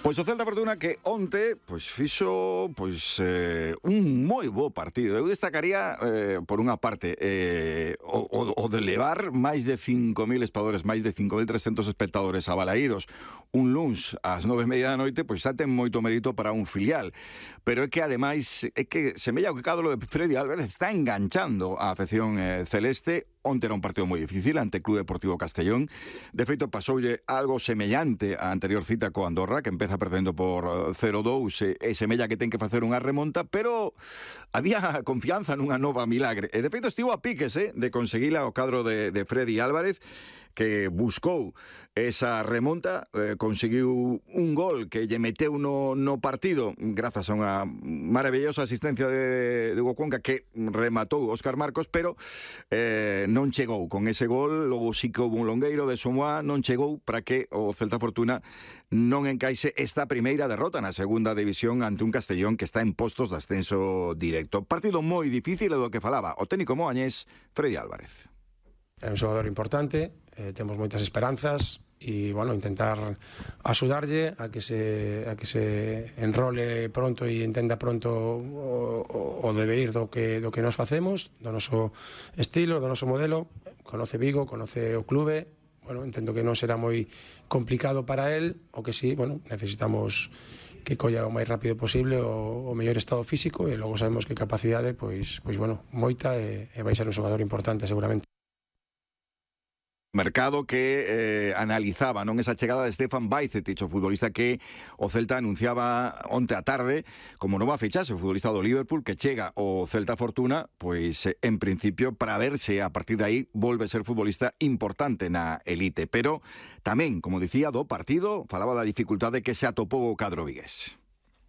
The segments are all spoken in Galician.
Pois o Celta Fortuna que onte fixo un moi bo partido. Eu destacaría por unha parte o de levar máis de 5.000 espectadores, máis de 5.300 espectadores abalaídos un luns ás 9:30 da noite, pois xa ten moito mérito para un filial. Pero é que ademais é que semella que cada lo de Freddy Álvarez está enganchando a afección celeste. Onte era un partido moi difícil ante Club Deportivo Castellón. De feito, pasoulle algo semellante á anterior cita co Andorra, que empeza perdendo por 0-2 e semella que ten que facer unha remonta, pero había confianza nunha nova milagre. E de feito estivo a piques de conseguila o cadro de Freddy Álvarez, que buscou esa remonta, conseguiu un gol que lle meteu no partido grazas a unha maravillosa asistencia de Hugo Cuenca que rematou Óscar Marcos, pero non chegou con ese gol. Logo sí que houve un longueiro de Somoa, non chegou para que o Celta Fortuna non encaixe esta primeira derrota na segunda división ante un Castellón que está en postos de ascenso directo. Partido moi difícil, é do que falaba o técnico moañés Freddy Álvarez. É un xogador importante, temos moitas esperanzas e, bueno, intentar axudarlle a que se enrole pronto e entenda pronto o deber do que nos facemos, do noso estilo, do noso modelo. Conoce Vigo, conoce o clube, bueno, entendo que non será moi complicado para él, o que sí, bueno, necesitamos que colla o máis rápido posible o mellor estado físico, e logo sabemos que capacidade, pois bueno, moita, e vai ser un xogador importante seguramente. Mercado que analizaba esa chegada de Stefan Bajcetic, o futbolista que o Celta anunciaba onte a tarde como nova fichaxe, o futbolista do Liverpool que chega ao Celta Fortuna, pois en principio para ver se a partir de aí volve a ser futbolista importante na elite. Pero tamén, como dicía, do partido falaba da dificultade que se atopou o cadro vigués.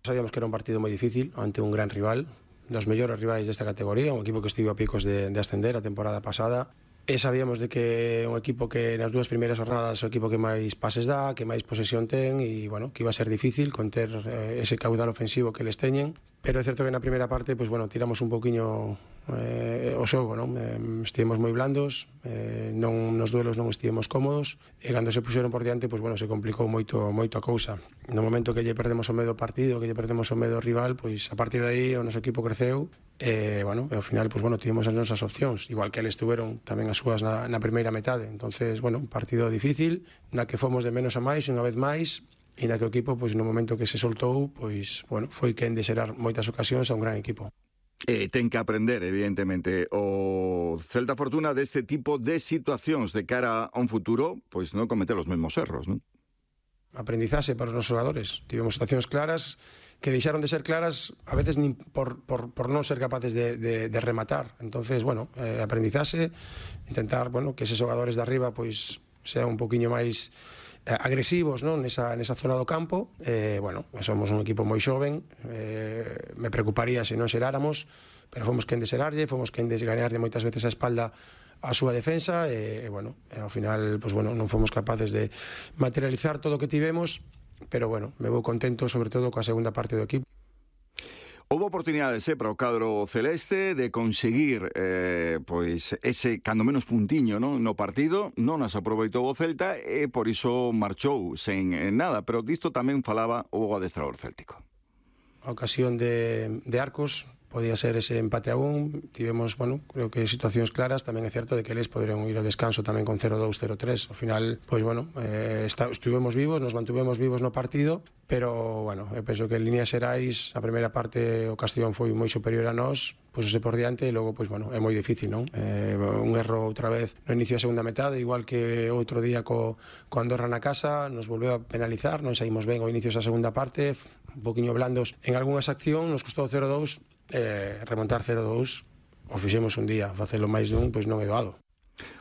Sabíamos que era un partido moi difícil ante un gran rival, dos mellores rivais desta categoría, un equipo que estivo a picos de ascender a temporada pasada. E sabíamos de que un equipo que nas dúas primeiras jornadas é o equipo que máis pases dá, que máis posesión ten, e, bueno, que iba a ser difícil conter ese caudal ofensivo que les teñen. Pero é certo que na primeira parte, tiramos un pouquiño o xogo, non? Estivemos moi blandos, nos duelos non estivemos cómodos, e cando se puxeron por diante, se complicou moito a cousa. No momento que lle perdemos o medo ao partido, que lle perdemos o medo ao rival, a partir de aí o noso equipo creceu, e ao final, tivemos as nosas opcións, igual que eles tuveron tamén as súas na primeira metade. Entonces, un partido difícil, na que fomos de menos a máis, unha vez máis, e na que o equipo, no momento que se soltou, foi quen de xerar moitas ocasións a un gran equipo. Ten que aprender, evidentemente, o Celta Fortuna deste tipo de situacións de cara a un futuro, non cometer os mesmos erros, non? Aprendizaxe para os nosos xogadores. Tivemos situacións claras que deixaron de ser claras a veces nin por non ser capaces de rematar. Entonces, aprendizaxe, intentar, que eses xogadores de arriba sean un poquinho máis agresivos, non? Nesa zona do campo. Somos un equipo moi xoven, me preocuparía se non xeráramos, pero fomos quen de xerarlle, fomos quen de gañarlle moitas veces a espalda a súa defensa, e ao final non fomos capaces de materializar todo o que tivemos, pero me vou contento sobre todo coa segunda parte do equipo. Houve oportunidades para o cadro celeste de conseguir ese, cando menos, puntiño no partido. Non as aproveitou o Celta e por iso marchou sen nada, pero disto tamén falaba o adestrador céltico. A ocasión de Arcos podía ser ese empate a 1, tivemos, creo que situacións claras. Tamén é certo de que eles poderon ir ao descanso tamén con 0-2, 0-3. Ao final, estuvemos vivos, nos mantuvemos vivos no partido, pero, eu penso que en líneas xerais a primeira parte o Castellón foi moi superior a nós, pusose por diante, e logo, é moi difícil, non? Un erro outra vez no inicio da segunda metade, igual que outro día co Andorra na casa, nos volveu a penalizar, non saímos ben ao inicio da segunda parte, un poquinho blandos en algunhas accións, nos custou 0-2, remontar 0-2, o fixemos un día, facelo máis dun, non é doado.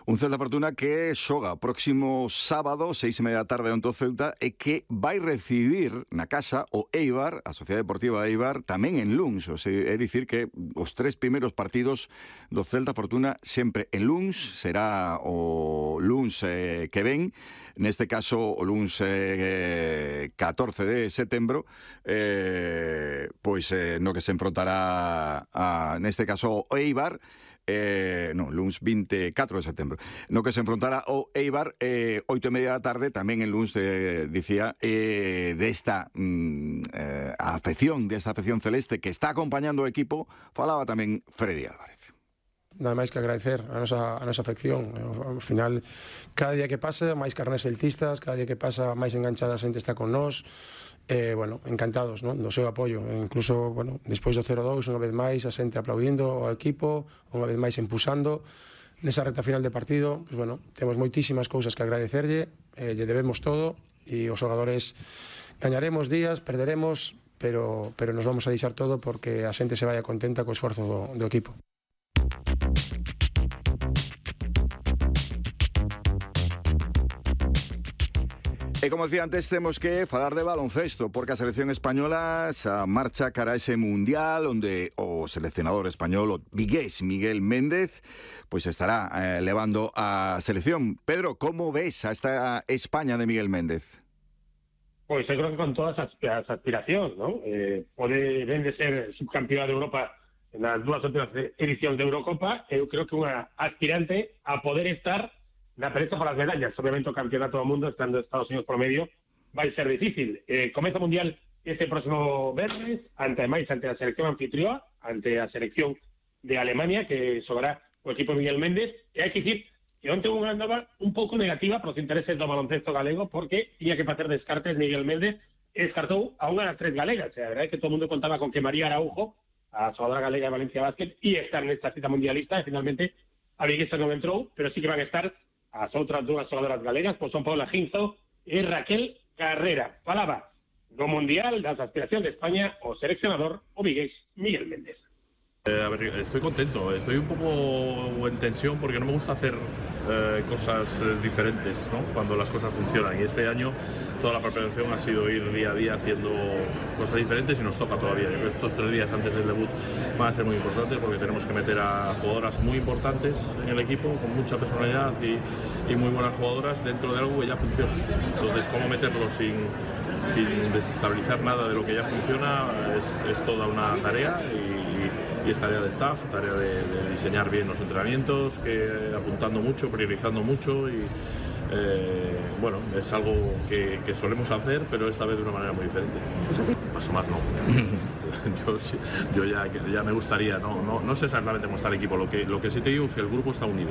Un Celta Fortuna que xoga próximo sábado, 6:30 da tarde, onte o Ceuta, e que vai recibir na casa o Eibar, a Sociedade Deportiva Eibar, tamén en Luns. É dicir que os 3 primeiros partidos do Celta Fortuna sempre en Luns. Será o Luns que ven, neste caso o Luns 14 de setembro, no que se enfrontará neste caso o Eibar, luns 24 de setembro, no que se enfrontara o Eibar 8:30 da tarde, tamén en luns dicía desta afección celeste que está acompañando o equipo, falaba tamén Freddy Álvarez. Nada máis que agradecer a nosa afección. Ao final, cada día que pasa, máis carnés celtistas, cada día que pasa, máis enganchada a xente está con nós. Encantados, non? Do seu apoio. Incluso, despois do 0-2, unha vez máis, a xente aplaudindo ao equipo, unha vez máis empusando. Nesa reta final de partido, temos moitísimas cousas que agradecerlle, lle debemos todo, e os xogadores gañaremos días, perderemos, pero nos vamos a deixar todo porque a xente se vaya contenta co esforzo do equipo. E como decía antes, temos que falar de baloncesto, porque a selección española xa marcha cara a ese mundial onde o seleccionador español, o vigués Miguel Méndez, pois estará levando a selección. Pedro, como ves a esta España de Miguel Méndez? Pois eu creo que con todas as aspiracións, non? Pode ben de ser subcampeón de Europa nas dúas outras edicións de Eurocopa, eu creo que unha aspirante a poder estar na pelea por as medallas. Obviamente o campeonato do mundo, estando Estados Unidos por medio, vai ser difícil. Comeza o mundial este próximo venres, ante a selección anfitrioa, ante a selección de Alemania, que xogará o equipo de Miguel Méndez, e hai que dicir que onte unha nova un pouco negativa para os intereses do baloncesto galego, porque tiña que facer descartes Miguel Méndez, e descartou a unha das tres galegas. A verdade é que todo o mundo contaba con que María Araujo, a xogadora galega de Valencia Basket, ia estar nesta cita mundialista, e finalmente a viguesa non entrou, pero sí que van a estar as outras dúas xogadoras galegas, pois son Paula Ginzo e Raquel Carrera. Falaba do Mundial, das aspiracións de España, o seleccionador, o vigués Miguel Méndez. Estoy contento, estoy un poco en tensión porque no me gusta hacer cosas diferentes, ¿no? Cuando las cosas funcionan, y este año toda la preparación ha sido ir día a día haciendo cosas diferentes y nos toca todavía. Yo creo que estos 3 días antes del debut van a ser muy importantes porque tenemos que meter a jugadoras muy importantes en el equipo, con mucha personalidad y muy buenas jugadoras dentro de algo que ya funciona. Entonces, cómo meterlo sin desestabilizar nada de lo que ya funciona es toda una tarea, y es tarea de staff, tarea de diseñar bien los entrenamientos, que apuntando mucho, priorizando mucho, y es algo que solemos hacer, pero esta vez de una manera muy diferente. Asomar no. Yo ya me gustaría, no sé exactamente cómo está el equipo, lo que sí te digo es que el grupo está unido.